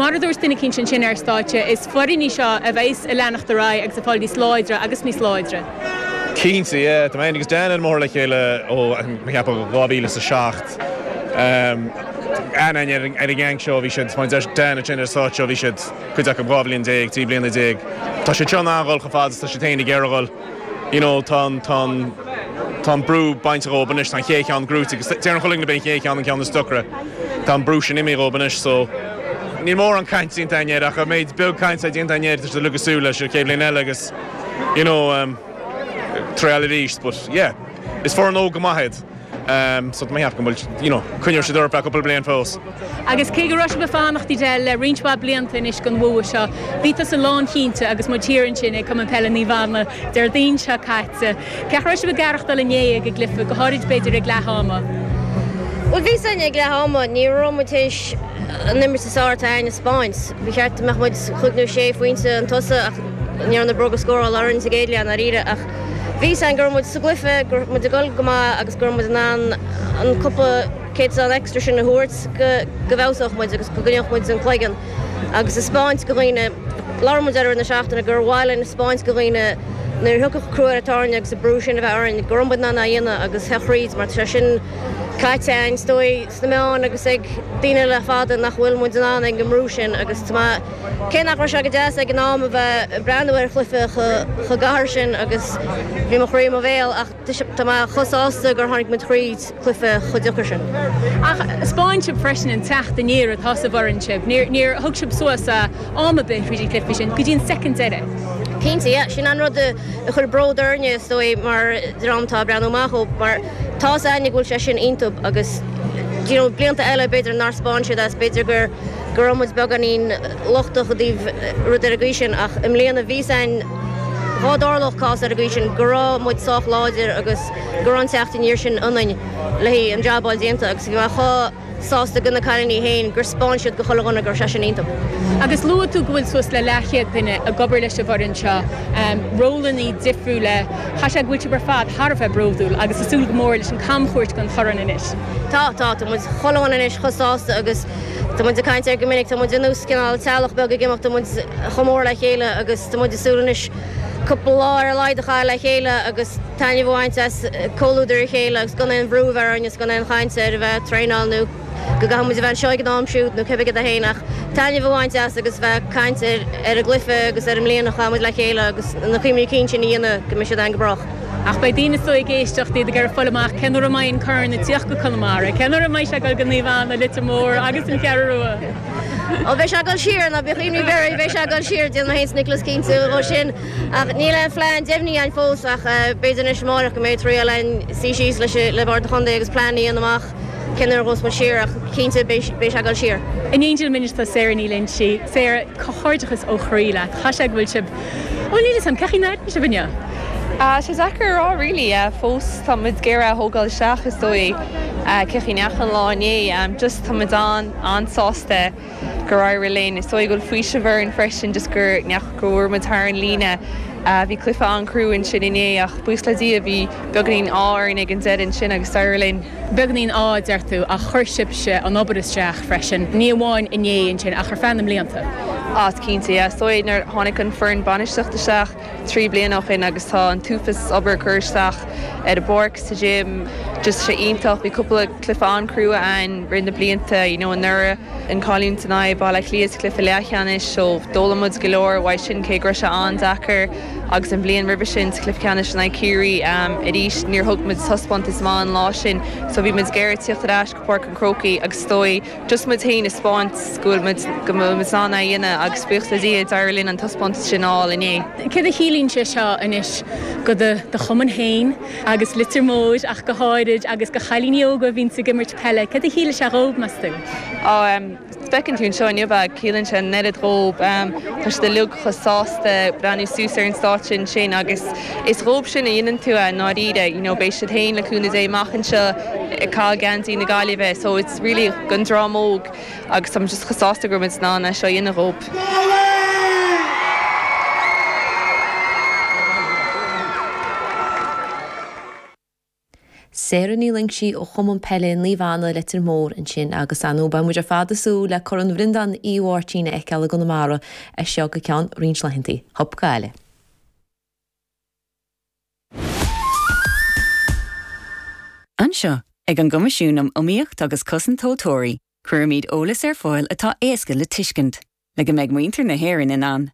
Mar a dúirt duine eicínt ansin ar stáitse, is foireann í seo a bheas ag leanacht ar aghaidh agus ag fáil níos láidre agus níos láidre. Cinnte, yeah. Tá mé féin agus Dan ar an mbóthar le chéile ó, mé ag ceapadh, 2007. Aithne againn ar an gang seo, bhí siad, mar a deir Dan ansin ar an stáitse, bhí siad, cuid acu 12 bhliain, 13 bliana. Tá siad seo in ann a dhul chomh fada is tá siad féin ag iarraidh a dhul. You know, tá an, tá an, tá an brú bainte dhóibh anois, tá an chéad cheann gnóite agus deireann chuile dhuine gurb é an chéad cheann an ceann is deacra. Tá an brú sin imithe dhóibh anois so níl mórán caint déanta againn air ach an méid beag caint atá déanta againn air tá siad uilig ag súil leis an chéad bhliain eile agus you know, um, triail arís but yeah, is foireann óg go maith iad. So tá mé ag ceapadh go bhfuil, you know, coinneoidh siad orthu cúpla bliain fós. Agus cé go raibh sibh ag fanacht Edel le roinnt mhaith blianta anois don bhua seo, bhí tusa lánchinnte agus muid thiar ansin ag Cumann Peile Naomh Anna Déardaoin seo caite. Cén chaoi a raibh sibh ag aireachtáil inné ag an gcluiche, go háirid b'fhéidir ag leath ama? Bhuel bhí a fhios againn ag leath ama, ní raibh muid théis an imirt is fearr atá againn a 'speáint. Ba cheart go mbeadh muid chúig nó sé phointe chun tosaigh ach ní raibh na bróga scórála orainn sa gcéad leath i ndáiríre ach Bhí a fhios againn go raibh muid sa gcluiche, go raibh muid ag dul go maith agus go raibh muid in ann an cúpla céatadán extra sin a thabhairt go go bhfeabhsódh muid agus go gcoinneodh muid an cloigeann agus a 'speáint go dhaoine, labhair muid air i rith na seachtaine, gur mhaith linn a 'speáint go dhaoine nuair a thiocfadh crú ar an tairne agus an brú sin a bheith orainn go raibh muid in ann é a dhéanamh agus theacht thríd mar tá sé sin caite againn is dóigh sna meáin agus ag daoine le fada nach bhfuil muid in ann ag an mbrú sin agus tá mé Cé nach raibh sé go deas ag an am a bheith ag breathnú ar chluiche chomh gadhar sin agus bhí mo chroí i mo bhéal ach tá mé chomh sásta gur tháinig muid thríd cluiche chomh deacair sin. Ach 'speáin sibh freisin an teacht aniar atá sa bhfoireann sibh. Níor thug sibh suas am ar bith thríd an gcluiche sin go dtí an soicind deiridh. Cinnte, yeah. Sin an rud a chuir bród orainne is dóigh mar dream atá ag breathnú amach ó mar tá 'fhios a'inne go bhfuil sé sin iontub agus you know blianta eile b'fhéidir nár 'speáin siad as b'fhéidir gur go raibh muid beagáinín lochtach i dtaobh rud ar an gcaoi sin ach i mbliana bhí 'fhios a'inn dhá dtarlódh cás ar an gcaoi sin go raibh muid sách láidir agus go raibh an teacht aniar sin ionainn le haghaidh an jab a fháil déanta agus bhí mé chomh sásta go na cailíní féin gur 'speáin siad go chuile dhuine go raibh sé sin iontub. Agus luaigh tú go bhfuil suas le leathchéad duine ag obair leis an bhfoireann seo, rólanna difriúla, chaithfeadh sé go bhfuil sibh ar fad thar a bheith bródúil agus ag súil go mór leis an camchuairt don chorn anois. Tá, tá, tá muid chuile dhuine anois chomh sásta agus Tá muid ag caint air go minic, tá muid ar nós cineál teaghlach beag ag imeacht, tá muid chomh mór le chéile agus tá muid ag súil anois cúpla lá ar a laghad a chaitheamh le chéile agus taitneamh a bhaint as comhluadar a chéile agus gan aon bhrú a bheith orainn agus gan aon chaint ar a bheith ag traenáil nó go gcaithfidh muid a bheith anseo ag an am siúd nó cibé cad é féin ach taitneamh a bhaint as agus bheith ag caint ar ar an gcluiche agus ar an mbliain a chaith muid le chéile agus na cuimhní cinn sin a dhéanamh go mbeidh siad againn go brách. Ach beidh daoine is dóigh ag éisteacht, iad ag iarraidh fáil amach cén uair a mbeidh an corn ag tíocht go Conamara, cén uair a mbeidh sé ag dul go Naomh Anna, Leitir Móir agus an Cheathrú Rua. Ó beidh sé ag dul siar, ná bíodh imní ar bith oraibh, beidh sé ag dul siar, déanfaidh mé féin is Nicholas cinnte dhó sin. Ach níl aon phlean deimhnithe againn fós ach b'fhéidir anois amáireach go mbeidh triail againn suí síos leis le Bord an Chontae agus plean a dhéanamh amach cén uair a ghabhfas muid siar ach cinnte beidh sé ag dul siar. In éindí liom anois tá Sarah Ní Loinsigh. Sarah, comhghairdeachas ó chroí leat. Chaithfeadh sé go bhfuil sibh Bhuel, níl 'fhios a'm, cén chaoi a n-airíonn sibh inniu? Tá sé deacair a rá really. Fós tá muid ag iarraidh a thógáil isteach is dóigh cén chaoi a ndeachaigh an lá inné. Just tá muid an-an-sásta gur éirigh linn. Is dóigh go bhfuil faoiseamh orainn freisin just gur go bhfuair muid thar an líne. Bhí cluiche an-chrua ansin inné ach buíochas le Dia bhí beagáinín ádh orainn ag an deireadh ansin agus d'éirigh linn. Beagáinín ádh, a deir tú, ach chuir sibhse an obair isteach freisin, ní amháin inné ansin ach ar feadh na mblianta. Á, cinnte, yeah. Is dóigh nuair a tháinig an foireann bainistíochta isteach 3 bliana ó shin agus tá an t-uafás obair curtha isteach ar an bpáirc, sa gym, just sé iontach. Bhí cúpla cluiche an-chrua ann rith na blianta, you know, anuraidh, an cailliúint in aghaidh Baile Átha Cliath sa chluiche leathcheannais, so d'fhoghlaim muid go leor uaidh sin cé go raibh sé an-deacair. Agus an bhliain roimhe sin sa chluiche ceannais in aghaidh Ciarraí arís níor thug muid taispeántas maith an lá sin so bhí muid ag iarraidh tíocht ar ais go Páirc an Chrócaigh agus is dóigh just muid féin a 'speáint go bhfuil muid go bhfuil muid in ann é a dhéanamh agus buíochas le Dia d'éirigh linn an taispeántas sin a fháil inné. Céard a chiallaíonn sé seo anois go do do chumann féin agus Leitir Móir ach go háirid agus go chailíní óga a bhíonns ag imirt peile, céard a chiallaigh sé dhóibh meas tú? Á Feiceann tú anseo inniu é, ciallaíonn sé an oiread dhóib. Tá siad uilig chomh sásta breathnú suas ar an stáitse ansin agus is dhóib sin a dhéanann tú é i ndáiríre. You know, beidh siad féin le cúnamh Dé amach anseo ag caitheamh geansaí na Gaillimhe so it's really don dream óg agus táim just chomh sásta go raibh muid in ann é seo a dhéanamh dhóib. Sarah Ní Loingsigh ó Chumann Peile Naomh Anna, Leitir Móir ansin agus ar ndóigh beidh muid ar fad ag súil le Corn Bhreandáin Uí Mháirtín a fheiceáil i gConamara as seo go ceann roinnt laethanta. Hup Gaillimh. Anseo, ag an gCoimisiún um Iomaíocht agus Cosaint Tomhaltóirí, cuirimid eolas ar fáil atá éasca le tuiscint, le go mbeidh muintir na hÉireann in ann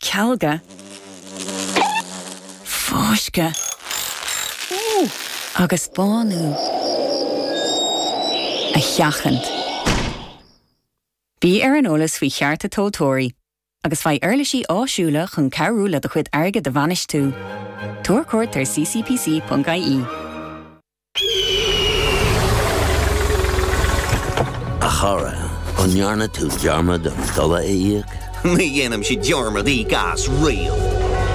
cealga, fáisceadh agus bánú a sheachaint. Bí ar an eolas faoi chearta tomhaltóirí agus faigh uirlisí áisiúla chun cabhrú le do chuid airgid a bhainistiú. Tabhair cuairt ar ccpc.ie. A chara, an ndearna tú dearmad an dola a íoc? Ní dhéanaimse dearmad íoc as riamh.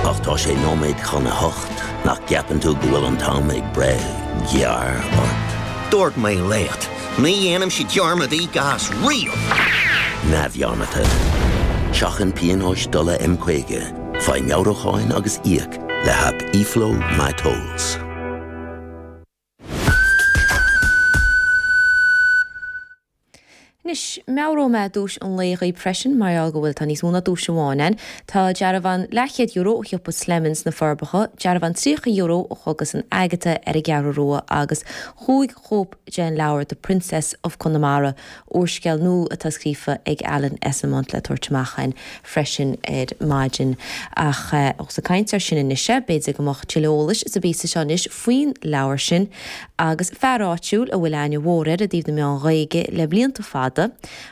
Ach tá sé nóiméad chun a hocht, nach gceapann tú go bhfuil an t-am ag breith gearr ort? Dúirt mé leat, ní dhéanaimse dearmad íoc as riamh! Neamhdhearmadta. Seachain pionóis dola M50, faigh meabhrúcháin agus íoc le haip eFlow MyTolls. Anois, meabhróidh mé duais an lae dhaoib freisin, mar gheall go bhfuil, tá níos mó ná duais amháin ann. Tá dearbhán leathchéad euro ó shiopa Slemons sna Forbacha, dearbhán €30 ó Chógaslann Agatha ar an gCeathrú Rua agus chúig chóip den leabhar The Princess of Connemara, úrscéal nua atá scríofa ag Alan Esslemont le tabhairt amach againn freisin ar maidin. Ach ós ag caint air sin anois é, b'fhéidir go mbeadh tuilleadh eolais sa bpíosa seo anois faoin leabhar sin agus fear áitiúil a bhfuil aithne mhór air i dtaobh na meán Ghaeilge le blianta fada,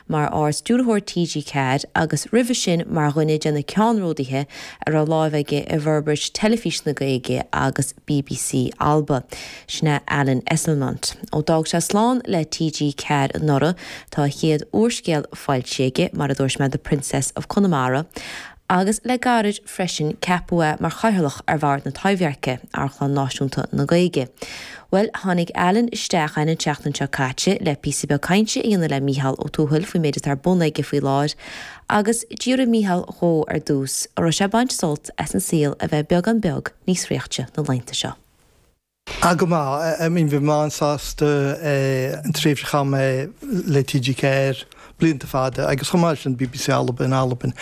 mar Ard-Stiúrthóir TG4 agus roimhe sin mar dhuine de na ceannródaithe a raibh láimh aige i bhforbairt Teilifís na Gaeilge agus bbc Alba. Sin é Alan Esslemont. Ó d'fhág sé slán le TG4 anuraidh, tá a chéad úrscéal foilsithe aige, mar a dúirt mé, The Princess of Connemara, agus le gairid freisin ceapadh é mar Chathaoirleach ar Bhord na Taibhdheirce, Amharclann Náisiúnta na Gaeilge. Bhuel, tháinig Alan isteach againn an tseachtain seo caite le píosa beag cainte a dhéanamh le Mícheál Ó Tuathail faoin méid atá ar bun aige faoi láthair agus d'fhiafraigh Mícheál dhó ar dtús an raibh sé ag baint sult as an saol a bheith beagán beag níos sroichte na laethanta seo. Ah go maith, I mean bhí mé an-sásta an tréimhse a chaith mé le TG4 blianta fada agus chomh maith leis sin BBC Alba in Albain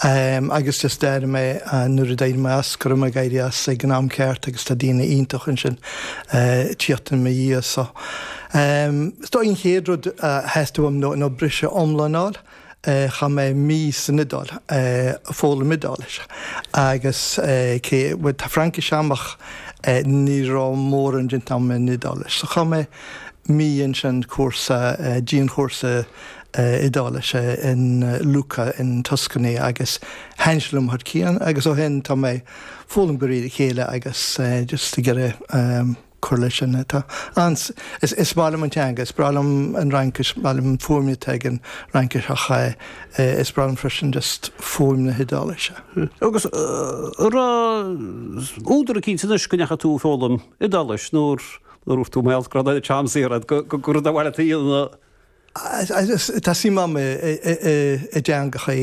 agus just d'airigh mé nuair a d'éirigh mé as go raibh mé ag éirí as ag an am ceart agus tá daoine iontach ansin ag tíocht i mo dhiaidh so is dóigh an chéad rud a theastaigh uaim ná briseadh iomlán a fháil. Chaith mé mí san Iodáil ag foghlaim Iodáilis agus cé, bhuel tá Fraincis a'm ach ní raibh mórán déanta a'm in Iodáilis. So chaith mé mí ansin cúrsa, dianchúrsa Iodáilise in Lucca in Tuscany agus thaitin sé liom thar cionn agus ó shin tá mé foghlaim de réir a chéile agus just ag iarraidh cur leis sin. Tá an, is, is maith liom an teanga, is breá liom an Fhraincis, is maith liom an fuaim atá ag an Fhraincis ach is breá liom freisin just fuaim na hIodáilise. Agus an raibh údar eicínt anois go ndeachaigh tú ag foghlaim Iodáilis nuair a dúirt tú mar gheall go raibh an t-am saor agat go, go, gur rud ar mhaith leat a dhéanamh? Tá suim agam i dteangacha.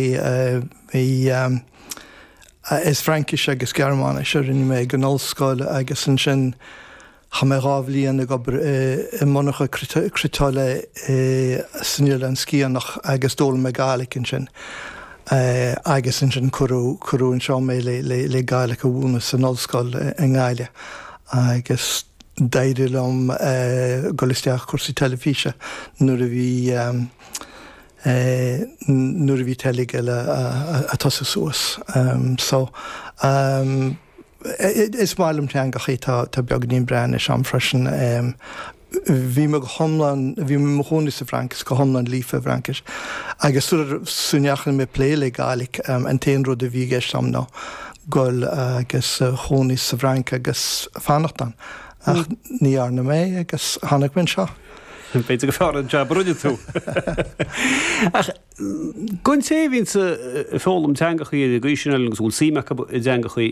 Is Fraincis agus Gearmáinis a rinne mé ag an ollscoil agus ansin chaith mé 2 bhliain ag obair i monarcha cniotála san Oileán Sciathanach agus d'fhoghlaim mé Gàidhlig ansin agus ansin cuireadh anseo mé le Gàidhlig a mhúineadh san ollscoil i nGaillimh agus D'éirigh liom dul isteach i cúrsaí teilifíse nuair a bhí nuair a bhí Telegael ag tosú suas. So is maith liom teangachaí, tá tá beagáinín Breathnais a'm freisin. Bhí mé go hiomlán, bhí mé i mo chónaí sa bhFrainc is go hiomlán líofa i bhFraincis agus sula ndeachaigh mé ag plé le Gàidhlig an t-aon rud a bhí i gceist a'm ná goil agus chónaí sa bhFrainc agus fanacht ann. Ach ní dhearna mé agus tháinig mé anseo. B'fhéidir gur fearr an jab a rinne tú. Ach don té a bhíonns ag foghlaim teangachaí ar an gcaoi sin agus a bhfuil suim acu i dteangachaí,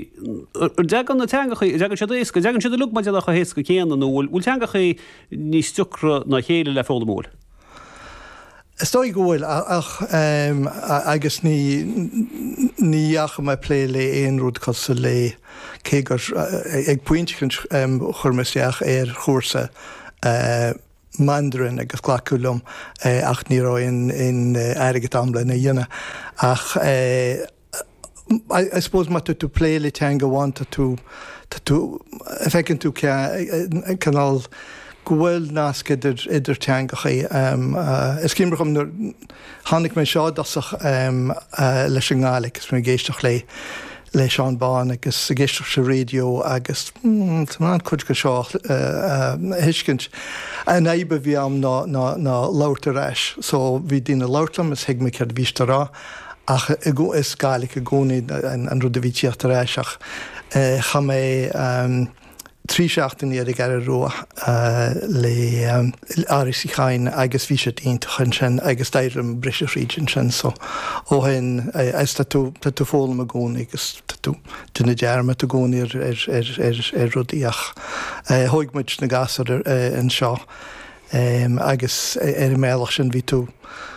an dtagann na teangachaí, an dtagann siad éasca, an dtagann siad uilig mar a déarfá chomh héasca céanna nó bhfuil teangachaí níos deacra ná a chéile le foghlaim, an bhfuil? Is dóigh go bhfuil, ach agus ní. Ní dheachaigh mé ag plé le aon rud cosúil le, cé gur ag pointe éicint chuir mé isteach ar chúrsa Mandarin agus glacadh liom ach ní raibh aon airgead a'm lena dhéanamh. Ach I suppose má tá tú ag plé le teanga amháin tá tú, tá tú, feiceann tú cineál go bhfuil nasc idir, idir teangachaí. Is cuimhin liom nuair tháinig mé anseo i dtosach leis an nGàidhlig agus mé ag éisteacht le, le Seán Bán agus ag éisteacht sa raidió agus tá mé in ann cuid de seo a thuiscint. An fhadhb a bhí a'm ná, ná, ná labhairt ar ais. So bhí daoine ag labhairt liom is thuig mé céard a bhí siad a rá. Ach is Gàidhlig i gcónaí an rud a bhí ag tíocht ar ais ach chaith mé 3 seachtainí ar an gCeathrú Rua le R.A.C. Chadhain agus bhí siad iontach ansin agus d'éirigh liom briseadh thríd ansin so ó shin is tá tú tá tú ag foghlaim i gcónaí agus tá tú déanamh dearmad i gcónaí ar ar ar ar rudaí ach thóig muid na gasúir anseo agus ar an mbealach sin bhí tú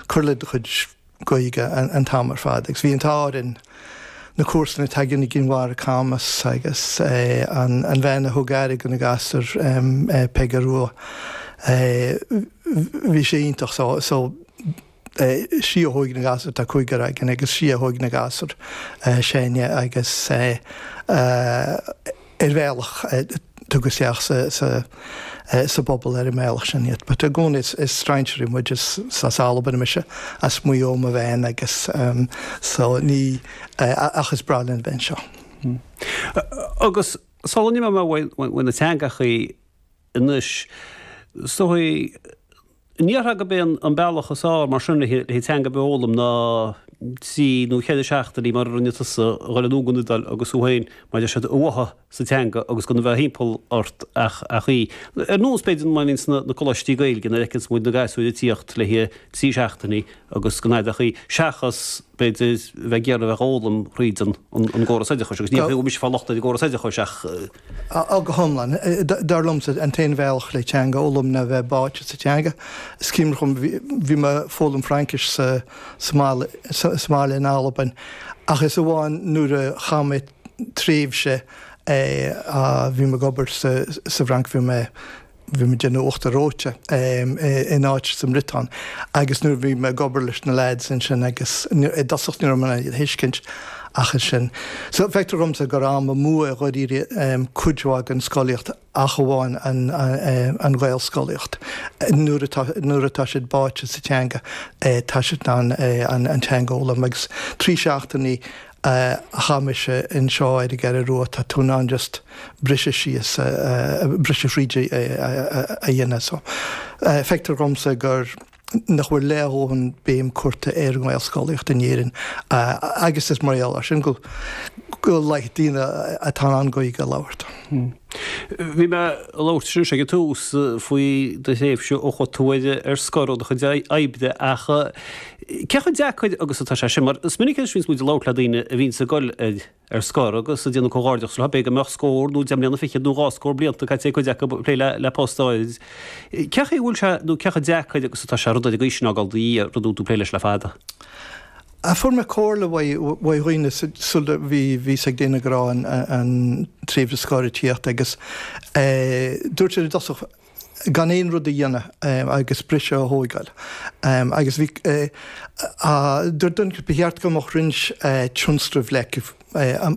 cur le do chuid Gaeilge an t-am ar fad agus bhí an t-ádh orainn na comharsana atá againn i gCinn Mhara Camus agus an bhean a thug aire do na gasúir Peige Rua bhí sé iontach so so sí a thóig na gasúir tá cúigear againn agus sí a thóig na gasúir s'againne agus ar bhealach tugadh isteach sa bpobal ar an mbealach sin iad. But i gcónaí is strainséirí muid, is as Albain mise, as Maigh Eo mo bhean agus so ní, ach is breá linn bheith anseo. Agus sula n-imeoidh mé uaidh na teangachaí anois, is dóigh, An ndéarfá gurb é an bealach is fearr mar sin le teanga ar bith a fhoghlaim ná trí nó cheithre seachtainí mar a rinne tusa a dhul anonn go an Iodáil agus thú féin mar a deir siad a bháthadh sa teanga agus gan a bheith thimpeall ort ach í. Ar nós b'fhéidir mar a bhíonn sna coláistí Gaeilge nuair a fheiceanns muid na gasúir ag tíocht le haghaidh trí seachtainí agus gan fhad ach í seachas b'fhéidir a bheith ag iarraidh a bheith á fhoghlaim thríd an gcóras oideachais agus ní bhfuil mise ag fáil locht ar an gcóras oideachais ach Á, go hiomlán. Dar liomsa, an t-aon bhealach le teanga a fhoghlaim ná bheith báite sa teanga. Is cuimhin liom, bhí mé ag foghlaim Fraincis sa mbaile, sa mbaile in Albain, ach is amháin nuair a chaith mé tréimhse, bhí mé ag obair sa bhFrainc, bhí mé, bhí mé ag déanamh uachtar reoite in áit sa mBriotáin agus nuair a bhí mé ag obair leis na lads ansin agus i dtosach ní raibh mé in ann iad a thuiscint ach ansin. So feictear dhomsa gur am amú é dháiríre cuid mhaith den scolaíocht ach amháin an Ghaelscolaíocht. Nuair atá nuair atá siad báite sa teanga tá siad in ann an teanga a fhoghlaim agus 3 seachtainí a chaith mise anseo ar an gCeathrú Rua, tá tú in ann just briseadh síos, briseadh thríd a dhéanamh. So, feictear dhomsa gur, nach bhfuil leordhóthain béim curtha ar an nGaelscolaíocht in Éirinn agus is mar gheall air sin go go laghad daoine atá in ann Gaeilge a labhairt. Bhí mé ag labhairt anois ag an tús faoi do thréimhse ó chuaigh tú ar scor ó do chuid oibre ach cé chomh deacair agus atá sé sin? Mar is minic anois a bhíonns muid ag labhairt le daoine a bhíonns ag dul ar ar scor agus ag déanamh comhghairdeachas leo, b'fhéidir go mbeadh scór nó deich mbliana fichead nó dhá scór blianta caite ag cuid acu ag plé le post áirid. Cé chaoi a bhfuil sé nó cé chomh deacair agus atá sé rud ar an gcaoi sin a fhágáil i do dhiaidh, rud a bhfuil tú ag plé leis le fada? Fuair mé comhairle uaidh dhaoine sula bhí fhios ag daoine go raibh an tréimhse scoir ag tíocht agus dúirt siad i dtosach gan aon rud a dhéanamh agus briseadh a thóigeáil. Agus bhí, dúirt duine ba cheart go mbeadh roinnt tionscnamh leagtha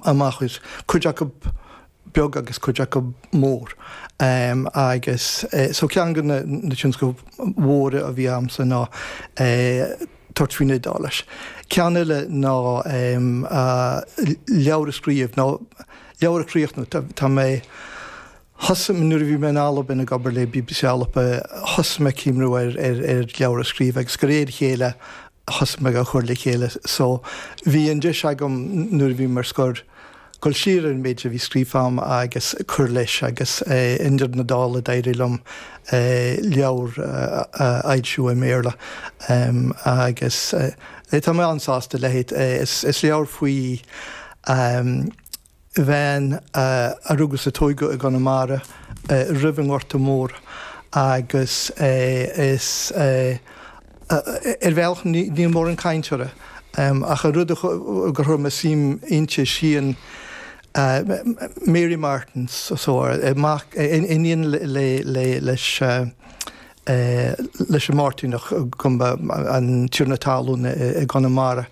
amach duit, cuid acu beag agus cuid acu mór. Agus so ceann de na tionscnaimh mhóra a bhí a'msa ná tabhairt faoin Iodáilis. Ceann eile ná leabhar a scríobh, nó leabhar a chríochnú. Tá mé. Thosaigh mé, nuair a bhí mé in Albain ag obair le BBC Alba, thosaigh mé ag cuimhniú ar leabhar a scríobh agus de réir a chéile thosaigh mé á chur le chéile. So bhí an deis agam nuair a bhí mé ar scor dul siar ar an méid a bhí scríofa agam agus cur leis agus i ndeireadh na dála d'éirigh liom leabhar a fhoilsiú i mBéarla agus tá mé an-sásta léi. Is leabhar faoi bhean a rugadh is a tóigeadh i gConamara roimh an nGorta Mór agus is ar bhealach níl mórán caint uirthi. Ach an rud gur chuir mé suim inti sí an Mary Martin so mac iníon leis leis an Máirtíneach go mba an tiarna talún i gConamara.